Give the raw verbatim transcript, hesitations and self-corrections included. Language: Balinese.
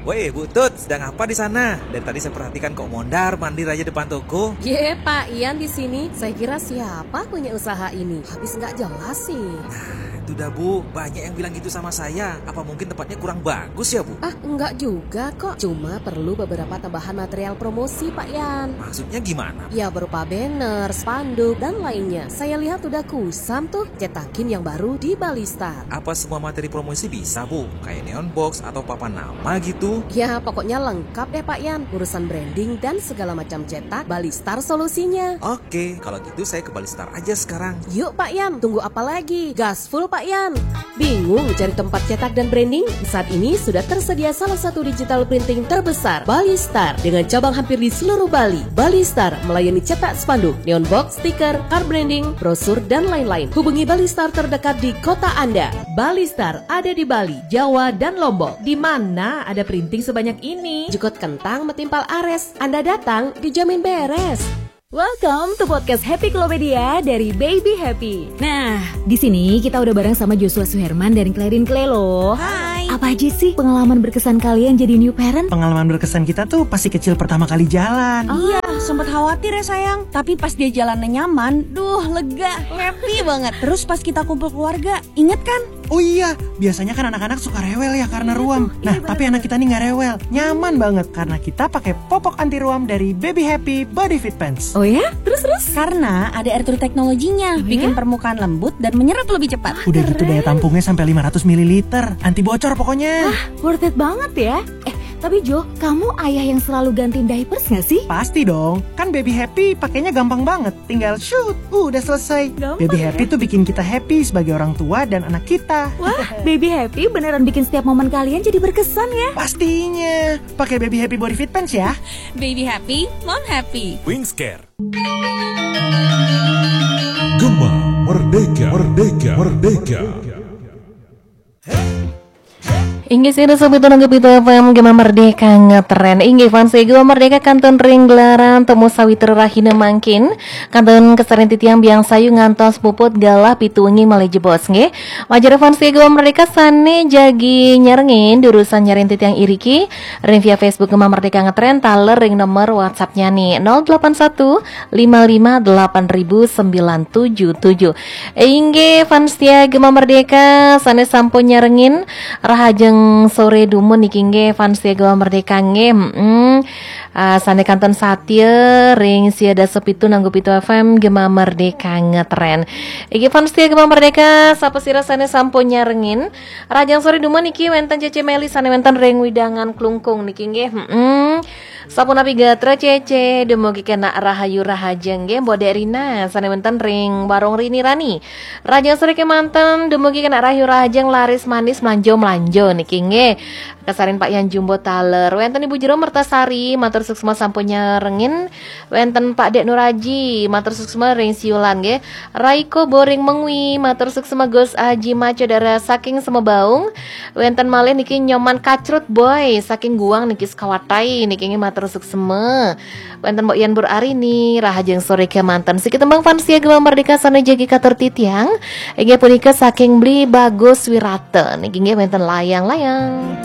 Woi, Bu Tut, sedang apa di sana? Dari tadi saya perhatikan kok mondar mandir aja depan toko. Ye, Pak Ian di sini. Saya kira siapa punya usaha ini? Habis nggak jelas sih. Nah, itu dah, Bu, banyak yang bilang gitu sama saya. Apa mungkin tempatnya kurang bagus ya, Bu? Ah, enggak juga kok. Cuma perlu beberapa tambahan material promosi, Pak Ian. Maksudnya gimana? Ya, berupa banner, spanduk, dan lainnya. Saya lihat udah kusam tuh. Cetakin yang baru di Balistar. Apa semua materi promosi bisa, Bu? Kayak neon box atau papan nama gitu? Ya, pokoknya lengkap deh, Pak Ian. Urusan branding dan segala macam cetak, Balistar solusinya. Oke, kalau gitu saya ke Balistar aja sekarang. Yuk, Pak Ian, tunggu apa lagi? Gas full, Pak Ian. Bingung cari tempat cetak dan branding? Saat ini sudah tersedia salah satu digital printing terbesar, Balistar, dengan cabang hampir di seluruh Bali. Balistar melayani cetak spanduk, neon box, stiker, card branding, brosur, dan lain-lain. Hubungi Balistar terdekat di kota Anda. Balistar ada di Bali, Jawa, dan Lombok. Di mana ada printing sebanyak ini? Jukut kentang metimpal ares. Anda datang dijamin beres. Welcome to podcast Happy Klopedia dari Baby Happy. Nah, di sini kita udah bareng sama Joshua Suherman dan Clarin Clay loh. Hai. Apa aja sih pengalaman berkesan kalian jadi new parent? Pengalaman berkesan kita tuh pasti kecil pertama kali jalan. Iya, sempat khawatir ya sayang. Tapi pas dia jalannya nyaman, duh lega, happy banget. Terus pas kita kumpul keluarga, inget kan? Oh iya, biasanya kan anak-anak suka rewel ya karena ruam. Nah, tapi anak kita nih nggak rewel, nyaman banget karena kita pakai popok anti ruam dari Baby Happy Body Fit Pants. Oh ya? Terus, terus? Karena ada air true teknologinya, bikin permukaan lembut dan menyerap lebih cepat. Udah gitu daya tampungnya sampai lima ratus mililiter, anti bocor pokoknya. Wah, worth it banget ya. Eh, tapi Jo, kamu ayah yang selalu gantiin diapers nggak sih? Pasti dong, kan Baby Happy pakainya gampang banget. Tinggal shoot, udah selesai. Gampang Baby ya? Happy tuh bikin kita happy sebagai orang tua dan anak kita. Wah, Baby Happy beneran bikin setiap momen kalian jadi berkesan ya. Pastinya, pakai Baby Happy Body Fit Pants ya. Baby Happy, Mom Happy. Wingscare. Gema Merdeka, Merdeka, Merdeka. Inggih, sira sobat nanggu pitu F M Gema Merdeka ngetren. Inggih, fans Gema Merdeka kantun ring gelaran temu sawitra rahina mangkin. Kantun kasarengin titiang biang sayu ngantos puput galah pitu wengi malih jebos nggih. Majeng fans Gema Merdeka sane jagi nyarengin durusang nyarengin titiang iriki ring via Facebook Gema Merdeka ngetren taler ring nomor WhatsApp-nya nih nol delapan satu lima lima delapan ribu sembilan tujuh tujuh. Inggih, fans setia Gema Merdeka, sane sampun nyarengin rahajeng sore dumun niki nggih, fans setia Gema Merdeka nggih. Mm-mm. Ah, sane kantun satia ring sia dasa pitu nanggu pitu F M Gema Merdeka ngetren. Inggih, fans setia Gema Merdeka, sapa sira sane sampun nyarengin rahajeng sore dumun niki wenten Cece Meli sane wenten ring wewidangan Klungkung niki nggih. Mm-mm. Sapunapi gatra Cece, dumugi kenak rahayu rahajeng nggih, Mbok Dek Rina, sane wenten ring Warung Rini Rani. Rahajeng sore kemanten, dumugi kenak rahayu rahajeng laris manis mlanjo-mlanjo niki nggih. Kasarengin Pak Yan Jumbo taler. Wenten Ibu Jero Mertasari, matur suksma sampun nyarengin. Wenten Pak Dek Nuraji, matur suksma ring Siulan nggih. Raiko Boring Mengwi, matur suksma Gus Aji Maco Dara saking Semebaung. Wenten malih niki Nyoman Kacrut Boy saking Guang niki sekawatai niki nggih matur suksma. Wenten Mbok Yan Bur Arini, rahajeng sore kemanten. Siki tembang fans setia Gema Merdeka sane jagi katur titiang. Inggih punika saking Bli Bagus Wirata niki nggih wenten layang-layang.